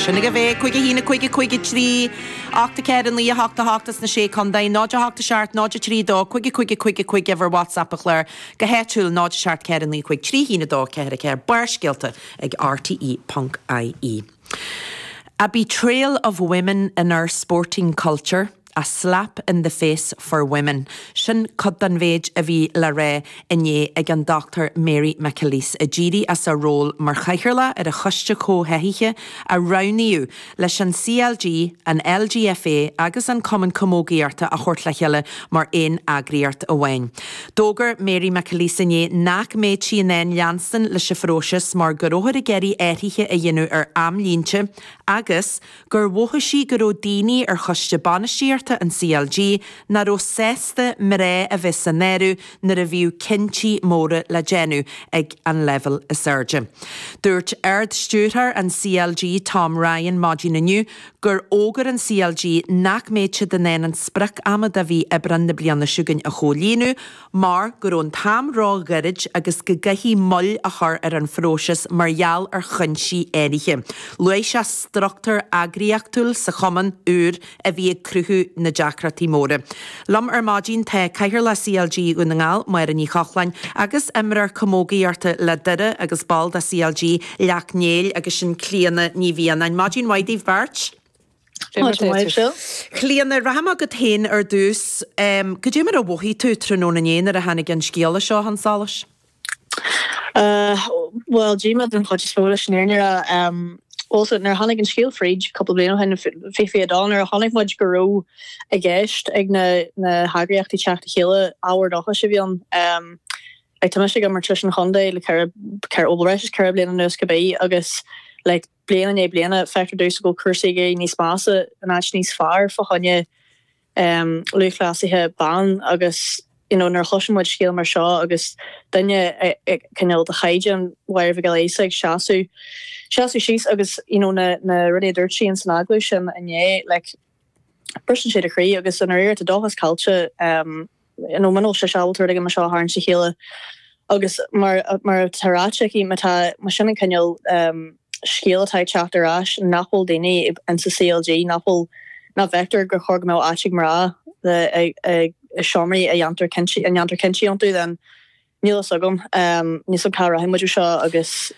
Sin agaibh é, 5 1 5 5 3 8 4 9 8 8 sna Sé Contae, 0 8 7 0 3 2 5 5 5 5 uimhir WhatsApp an chláir go háitiúil 0 7 4 9 5 3 1 2 4 4 Barrscéalta ag rte.ie. A betrayal of women in our sporting culture, a slap in the face for women. Sin cuid den mhéid a bhí le rá inné ag an Dr Mary McAleese, a d'éirigh as a ról mar chathaoirleach ar an Choiste Comhtháthaithe a roghnaíodh leis an CLG, an LGFA agus an Cumann Camógaíochta a thabhairt le chéile mar aon eagraíocht amháin. D'fhógair Mary McAleese inné nach mbeadh sí in ann leanstan leis an phróiseas mar go rabhthar ag iarraidh athruithe a dhéanamh ar amlínte agus gur mhothaigh sí go raibh daoine ar choiste bainistíochta an CLG nach raibh sásta mná a bheith san áireamh nuair a bhíodh cinntí móra le déanamh ag an leibhéal is airde. Dúirt Ard-Stiúrthóir an CLG Tom Ryan maidin inniu gur fhógair an CLG nach mbeadh siad in ann an sprioc ama de mhí Aibreán na bliana seo chugainn a chomhlíonadh mar go raibh an t-am ró-ghairid agus go gcaithfí moill a chur ar an phróiseas mar gheall ar chúinsí áirithe. Luaigh sé struchtúr eagraíochtúil sa chumann úr a bhí ag cruthú na deacrachtaí móra. Liom ar maidin tá Cathaoirleach CLG Dhún na nGall, Máire Ní Chochláin, agus imreoir camógaíochta le Doire agus ball de CLG Leacht Néill agus sin Clíona Ní Mhianáin. Maidin mhaith daoibh beirt. Maidin mhaith, Phil. Clíona, rachaidh mé chugat féin ar dtús. Cad é mar a mhothaigh tú tráthnóna inné nuair a tháinig an scéala seo chun solais? Bhuel, díomá den chuid is mó leis an fhírinne a rá. Bhuel, so nuair a tháinig an scéal fríd cúpla bliain ó shin, 2022, nuair a chonaic muid go raibh i gceist ag na na heagraíochtaí teacht le chéile, ábhar dóchais a bhí ann. Like, tá mise ag imirt leis an chontae le ceithre, ceithre, bhuel, breis is 4 bliana anuas cibé agus like bliain i ndiaidh bliana feictear domhsa go bhfuil cúrsaí ag éirí níos measa in áit níos fearr fá choinne lúthchleasaithe ban agus you know nuair a chloiseann muid scéal mar seo agus duine cineál de chaighdeán Mháire Mhic Giolla Íosa ag seasamh seasamh síos agus you know na na rudaí a dúirt sí ins an agallamh sin inné like briseann sé do chroí agus i ndáiríre tá dóchas caillte you know muna bhfuil sise ábalta rud éigin mar seo a tharraingt le chéile agus mar mar atá ráite aici má tá má sin an cineál scéal atá ag teacht ar ais nach bhfuil daoine insa CLG nach bhfuil nach bhfeictear gur chóir go mbeadh áit ag mná i i seomraí a dhéantar cinntí a ndéantar cinntí iontu then níl fhios agam níl fhios agam cá rachaidh muid ó seo agus.